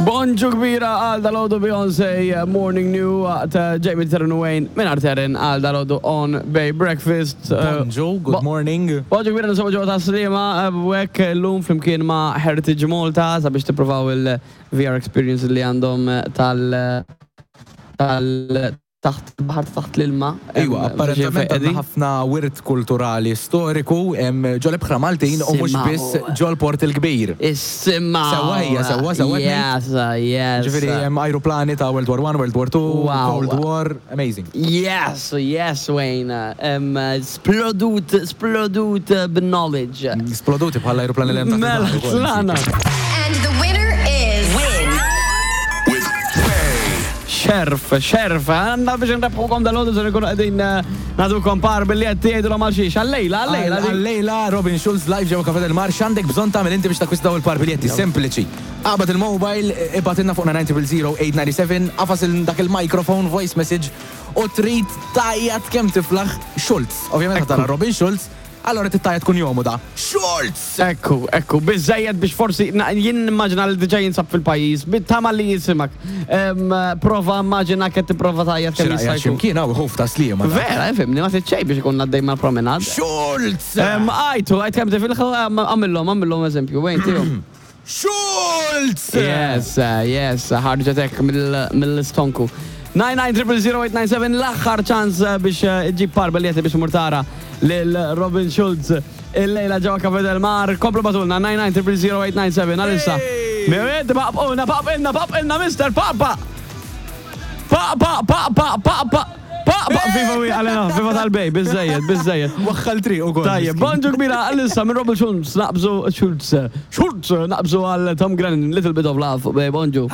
Bonġu kbira għal dalgħodu Beyonce Morning New waqt Jamie Terren u Wayne minn Terren għal dalgħodu on Bay Breakfast. Bonġu, good morning. Bonġu kbira ninsabu ġewwa Tas-Sliema u hekk illum flimkien ma' Heritage Malta sabiex tippruvaw il-VR experience li għandhom tal tal taħt il-baħar taħt l-ilma. Iwa, apparentament għandna ħafna wirt kulturali storiku ġol-ibħra Maltin u mhux biss ġol-Port il-Kbir. Issimgħu! Sewwa hija, sewwa, sewwa qed ngħid? Yes, yes. Ġifieri hemm ajruplani ta' World War One, World War Two, Cold War, amazing. Yes, yes Wayne. Splodut, splodut bin-knowledge. Sploduti bħall-ajruplani li hemm taħt il-baħar ukoll. Mela, tlaqna. And the winner is. Win with Bay. Xerf, xerf, għandna biex nrebħukom dal-għodu se nkunu qegħdin nagħtukom par biljetti jgħidulhom għal xiex, għal-lejla, għal-lejla. Għal-lejla Robin Schulz live ġewwa Cafe del Mar, x'għandek bżonn tagħmel inti biex takkwista dawn il-par biljetti? Sempliċi. Aqbad il-mobile, ibgħatilna fuq 9000897, agħfas dak il-microphone voice message u trid tgħajjat kemm tiflaħ Schulz. Ovvjament ħa tara Robin Schulz, Allura trid tgħajjat kunjomu da. Schulz! Ekku, ekku, biżżejjed biex forsi, jien nimmaġina li diġà jinsab fil-pajjiż, bit-tama li jisimak. Prova immaġina qed tipprova tgħajjat kemm jista' jkun. X'imkien hawn ħuf ta' Sliema. Vera, ifhimni, ma trid xejn biex ikun għaddej mal-promenade. Schulz! Għajtu, għajt kemm tifilħu, għamillhom, għamillhom eżempju, wejn tihom. Schulz! Yes, yes, ħarġet hekk mill-istonku. 99000 l-aħħar ċans biex iġġib par biljetti biex tmur tara lil Robin Schulz illejla ġewwa Cafe del Mar. Komplu bagħtulna 99000 għalissa. Mewed, paqpquna, paqpqilna, paqpqilna, mister, paqpaq! Paqpaq, paqpaq, paqpaq! Pa, pa, viva wi, għalena, viva tal-bej, bizzejed, bizzejed. Waħħal triq u kol. Tajjeb, bonġu kbira għal-issa minn Robert Schultz, naqbżu, Schultz, Schultz, naqbżu għal Tom Grennan, Little Bit of Love, bej, bonġu.